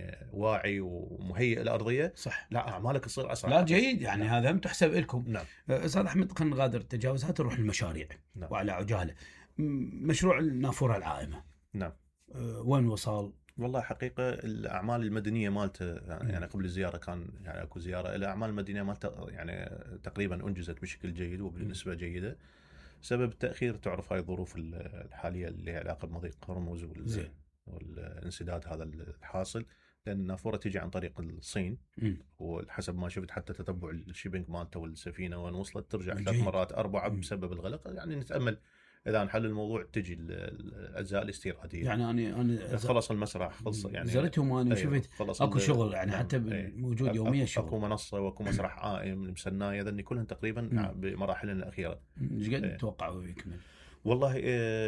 يعني واعي ومهيئ الارضيه صح. لا اعمالك تصير اسرع. لا جيد يعني نعم. هذا هم تحسب لكم. نعم. استاذ احمد خلينا نغادر التجاوزات نروح للمشاريع. نعم. وعلى عجاله مشروع النافوره العائمه. نعم. وين وصل؟ والله حقيقه الاعمال المدنيه مالته يعني قبل الزياره كان يعني اكو زياره، الاعمال المدنيه مالته يعني تقريبا انجزت بشكل جيد وبنسبه جيده. سبب التاخير تعرف هاي الظروف الحاليه اللي لها علاقه بمضيق هرمز والانسداد هذا الحاصل، لان النافوره تيجي عن طريق الصين. وحسب ما شفت حتى تتبع الشيبينج مالته والسفينه وين وصلت ترجع 3 مرات 4 بسبب الغلق. يعني نتامل اذا انحل الموضوع تجي الاجزاء الاستيراديه. يعني انا خلص المسرح خلص يعني زرتهم وانا شفت اكو شغل يعني حتى موجود يوميا شغل. اكو منصه واكو مسرح عائم المسنايه ذني كلهم تقريبا بمراحلهم الاخيره. ايش قد تتوقعوا يكمل؟ والله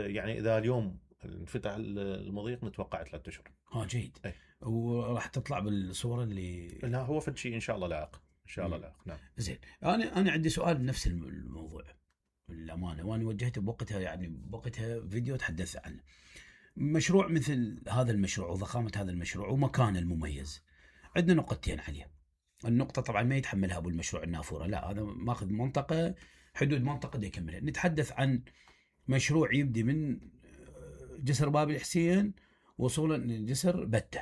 يعني اذا اليوم انفتح المضيق نتوقع 3 اشهر. جيد. وراح تطلع بالصوره اللي لا هو فد شيء ان شاء الله لائق ان شاء الله لائق. نعم. زين انا عندي سؤال بنفس الموضوع للامانه، وانا وجهته بوقتها يعني بوقتها فيديو تحدثت عنه. مشروع مثل هذا المشروع وضخامه هذا المشروع ومكانه المميز، عندنا نقطتين عليه. النقطه طبعا ما يتحملها ابو المشروع النافوره، لا هذا ماخذ منطقه حدود منطقه دي يكملها. نتحدث عن مشروع يبدي من جسر باب الحسين وصولا لجسر بته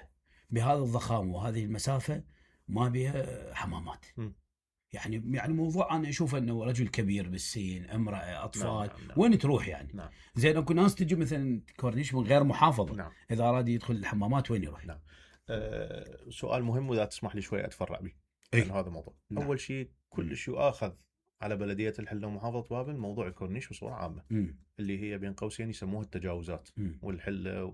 بهذا الضخامه وهذه المسافه ما بها حمامات. يعني موضوع انا اشوف انه رجل كبير بالسن، امراه، اطفال. نعم. وين تروح يعني؟ نعم. زين اكو ناس تجي مثلا كورنيش من غير محافظه. نعم. اذا اراد يدخل الحمامات وين يروح؟ نعم. سؤال مهم واذا تسمح لي شوي اتفرع به لان هذا الموضوع. نعم. اول شيء كل شيء يؤاخذ على بلديه الحله ومحافظه بابل موضوع الكورنيش بصوره عامه. اللي هي بين قوسين يسموها التجاوزات والحله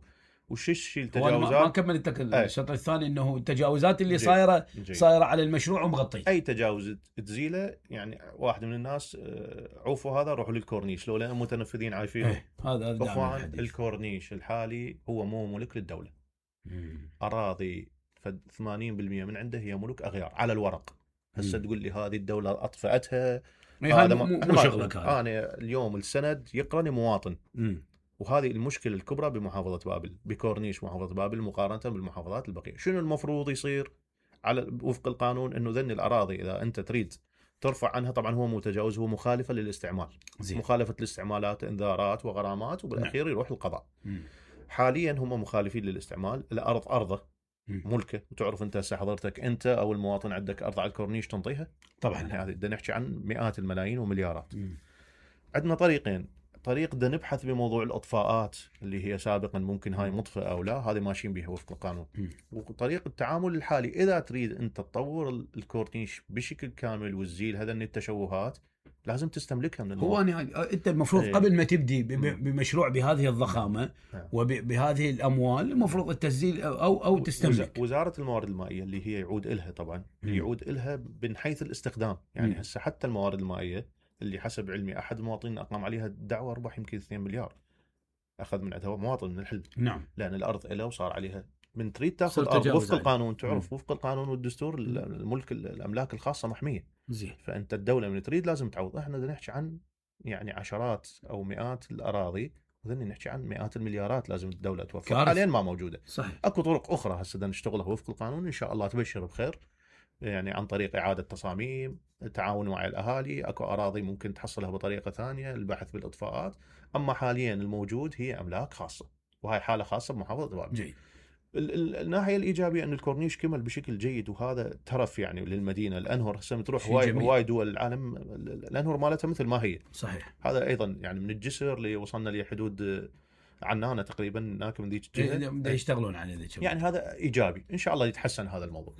وش التجاوزات. ما كملت الشطر الثاني انه التجاوزات اللي صايره على المشروع ومغطيه. اي تجاوز تزيله يعني واحد من الناس عوفوا هذا روحوا للكورنيش لو لان متنفذين عايفينه. هذا اخوان الكورنيش الحالي هو مو ملك للدوله. اراضي 80% من عنده هي ملك اغيار على الورق. هسه تقول لي هذه الدوله اطفأتها هذا مو شغلك. انا اليوم السند يقرني مواطن. وهذه المشكله الكبرى بمحافظه بابل بكورنيش محافظه بابل مقارنه بالمحافظات البقيه. شنو المفروض يصير على وفق القانون؟ انه ذن الاراضي اذا انت تريد ترفع عنها، طبعا هو مو تجاوز، هو مخالفه للاستعمال. مخالفه الاستعمالات انذارات وغرامات وبالاخير يروح القضاء. حاليا هم مخالفين للاستعمال. الارض ارضه ملكه. وتعرف انت هسه حضرتك انت او المواطن عندك ارض على الكورنيش تنطيها طبعا. هذه بدنا نحكي عن مئات الملايين ومليارات. عندنا طريقين. طريق بدنا نبحث بموضوع الاطفاءات اللي هي سابقا ممكن هاي مطفئه او لا، هذه ماشيين بها وفق القانون. وطريق التعامل الحالي اذا تريد انت تطور الكورنيش بشكل كامل وتزيل هذا التشوهات لازم تستملكها من هو انت المفروض قبل ما تبدي بمشروع بهذه الضخامه وبهذه الاموال المفروض التسجيل او تستملك. وزاره الموارد المائيه اللي هي يعود لها طبعا يعود لها من حيث الاستخدام. يعني هسه حتى الموارد المائيه اللي حسب علمي احد المواطنين اقام عليها دعوى ارباح يمكن 2 مليار اخذ من عندها مواطن من الحل. نعم. لان الارض له وصار عليها من تريد تاخذ ارض وفق القانون. تعرف وفق القانون والدستور الملك الاملاك الخاصه محميه. زين. فانت الدوله من تريد لازم تعوض. احنا بدنا نحكي عن يعني عشرات او مئات الاراضي وذني نحكي عن مئات المليارات لازم الدوله توفر. حاليا ما موجوده. صحيح. اكو طرق اخرى هسه بدنا نشتغلها وفق القانون ان شاء الله تبشر بخير. يعني عن طريق إعادة تصاميم، التعاون مع الأهالي. أكو أراضي ممكن تحصلها بطريقة ثانية، البحث بالإطفاءات. أما حاليا الموجود هي أملاك خاصة وهي حالة خاصة بمحافظة بابل. جيد. الناحية الإيجابية أن الكورنيش كمل بشكل جيد وهذا ترف يعني للمدينة. الأنهر هسه تروح هواي دول العالم الأنهر مالتها مثل ما هي. صحيح. هذا أيضا يعني من الجسر اللي وصلنا لحدود عنانة تقريبا هناك من ذيك الجهة يشتغلون على ذيك. يعني هذا إيجابي إن شاء الله يتحسن هذا الموضوع.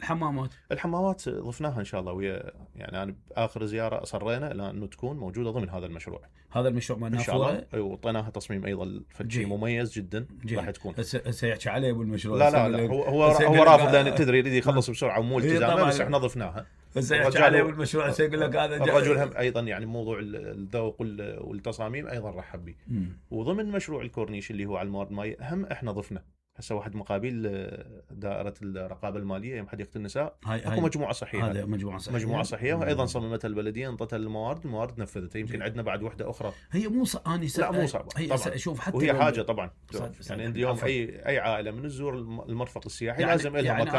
الحمامات ضفناها إن شاء الله ويا يعني أنا بآخر زيارة أصرينا إلى أنه تكون موجودة ضمن هذا المشروع. هذا المشروع ما نافوره. وطيناها تصميم أيضا شيء مميز جدا راح تكون. سيحكي عليه بالمشروع. لا هو رافض لأن تدري يريد يخلص بسرعة ومو التزامه بس إحنا ضفناها. سيحكي عليه بالمشروع سيقول لك هذا الرجل هم أيضا يعني موضوع الذوق والتصاميم أيضا رحب به. وضمن مشروع الكورنيش اللي هو على الموارد المائية هم إحنا ضفنا هسه واحد مقابل دائرة الرقابة المالية يوم حديقة النساء اكو مجموعة صحية. هذا مجموعة صحية وايضا صممتها البلدية انطتها الموارد نفذتها. يمكن عندنا بعد وحدة اخرى. هي مو لا مو صعبة هي شوف حتى وهي حاجة طبعا يعني اليوم اي عائلة من تزور المرفق السياحي لازم لها مكان